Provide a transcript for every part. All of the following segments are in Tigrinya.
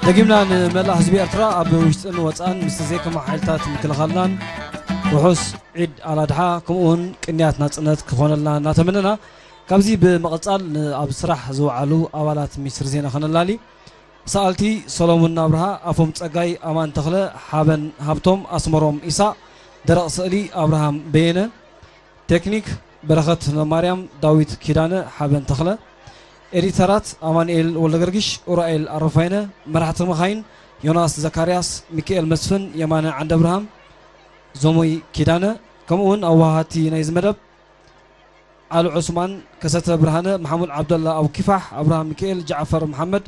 ደጊምና ንመላእ ህዝቢ ኤርትራ ኣብ ውሽጥን ወጻእን ምስቲ ዘይከማ ሓይልታት ምክልኻልናን ውሑስ ዒድ ኣላድሓ ከምኡ እውን ቅንያት ናጽነት ክኾነልና እናተመነና፣ ካብዚ ብምቕጻል ን-፣ ኣብ ስራሕ ዝወዓሉ ኣባላት ሚኒስትሪ ዜና ከነላሊ። ሰኣልቲ ሰሎሙን ኣብርሃ፣ ኣፎም ጸጋይ፣ ኣማን ተኽለ፣ ሓበን ሃብቶም፣ ኣስመሮም ኢሳቕ፣ ደረቕ ስእሊ ኣብርሃም በየነ፣ ቴክኒክ በረኸት ማርያም፣ ዳዊት ኪዳነ፣ ሓበን ተኽለ፣ ኤዲተራት ኣማኑኤል ወልደገርጊሽ፣ ኡራኤል ኣረፋይነ፣ መራሕቲ መኻይን ዮናስ ዘካርያስ፣ ሚካኤል መስፍን፣ የማነ ዓንደብርሃም፣ ዞሞይ ኪዳነ፣ ከምኡ እውን ኣዋሃቲ ናይዚ መደብ ኣሉ ዑስማን፣ ከሰተ ብርሃነ፣ መሓሙድ ዓብደላ፣ ኣቡ ኪፋሕ፣ ኣብርሃም ሚካኤል፣ ጃዕፈር መሓመድ፣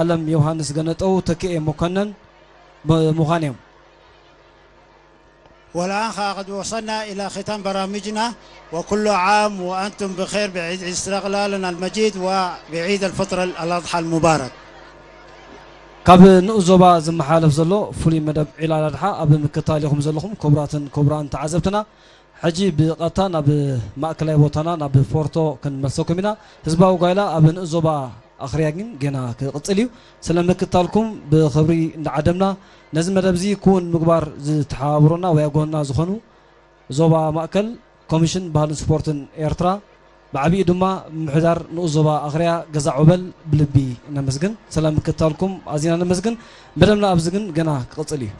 ኣለም ዮሃንስ ገነጠው፣ ተክኤ መኮነን ብምዃን እዮም። والآن قد وصلنا إلى ختام برامجنا، وكل عام وأنتم بخير بعيد استقلالنا المجيد وبعيد الفطر الأضحى المبارك. ካብ ንኡስ ዞባ ዝመሓላለፍ ዘሎ ፍሉይ መደብ ዒድ ኣላድሓ ኣብ ምክታል ኢኹም ዘለኹም ክቡራትን ክቡራን ተዓዘብትና። ሕጂ ብቐጥታ ናብ ማእከላይ ቦታና ናብ ፎርቶ ክንመልሰኩም ኢና። ህዝባዊ ጓይላ ኣብ ንኡስ ዞባ ኣኽርያ ግን ገና ክቕጽል እዩ። ስለ ምክታልኩም ብኽብሪ እንዳዓደምና፣ ነዚ መደብ እዚ ክውን ምግባር ዝተሓባበሩና ወይ ኣብ ጎንና ዝኾኑ ዞባ ማእከል ኮሚሽን ባህልን ስፖርትን ኤርትራ፣ ብዓቢኡ ድማ ምምሕዳር ንኡስ ዞባ ኣኽርያ ገዛ ዑበል ብልቢ ነመስግን። ስለ ምክታልኩም ኣዚና ነመስግን። መደብና ኣብዚ ግን ገና ክቕጽል እዩ።